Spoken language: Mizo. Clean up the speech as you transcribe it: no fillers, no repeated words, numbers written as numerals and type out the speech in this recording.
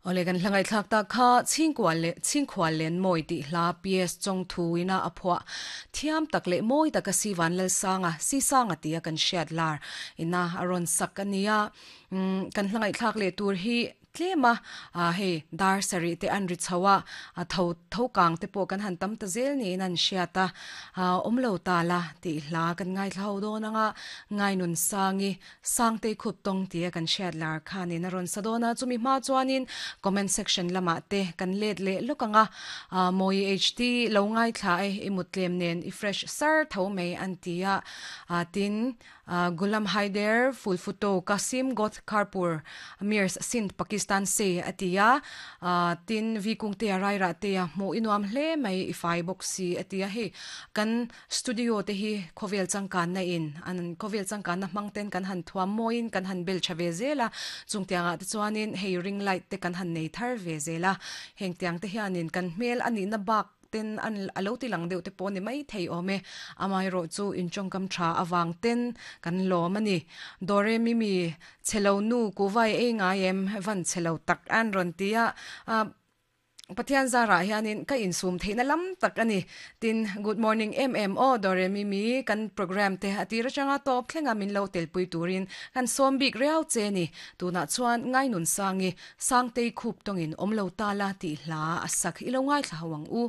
Awle kan hla ngaihthlak tak kha Chhingkual leh Chhingkhual len mawi tih hla PS Chawngthu ina a phuah thiam tak leh mawi taka Si Vanlalsanga, Si Sanga tia kan hriat lar ina a rawn sak a nia. Umm kan hla ngaihthlak leh tur hi tlem a, ah hei dar sarih te an ri chho a, a tho tho kang te pawh kan han tam ta zel niin an hriat a, ah awm lo ta la tih hla kan ngaithla ho dawn ang a, Ngainun Sangi Sangtei khup tawng tia kan hriat lar khanin a rawn sa dawn a, chumi hma chuanin comment section lamah te kan let leh lawk ang a, Mawi HT lo ngaithla e, i mut tlem nen i fresh sar tho mai an ti a, tin Ghulam Haider Fulfuto Qasim Goth Kharpur Mirs Sindh Pakistan se a ti a, tin Vi Kungtea Rairah tea hmuh i nuam hle mai i fai bawk si a ti a, hei kan Studio te hi khawvel changkanna in an khawvel changkanna hmang ten kan han thuam mawiin kan han bel tha ve zel a, chung tiangah te chuanin hei ring light te kan han nei thar ve zel a, heng tiang te hianin kan hmel a nihna bak ten an a lo ti lang deuh te pawh ni mai thei awm e, amaherawh chu in tawngkam tha avang ten kan lawm a ni. Dore Mimi chhelo nu kuhvai ei ngai em van chhelo tak an rawn ti a, Pathian zarah hianin ka insum theihna lam tak a ni. Tin, good morning em em aw Doremi mi kan program te a tir atanga tawp thlenga min lo telpui turin kan sawm bik riau che ni. Tunah chuan Ngainunsangi, Sangtei khup tawngin awm lo ta la tih hla a sak i lo ngaithla ho ang u.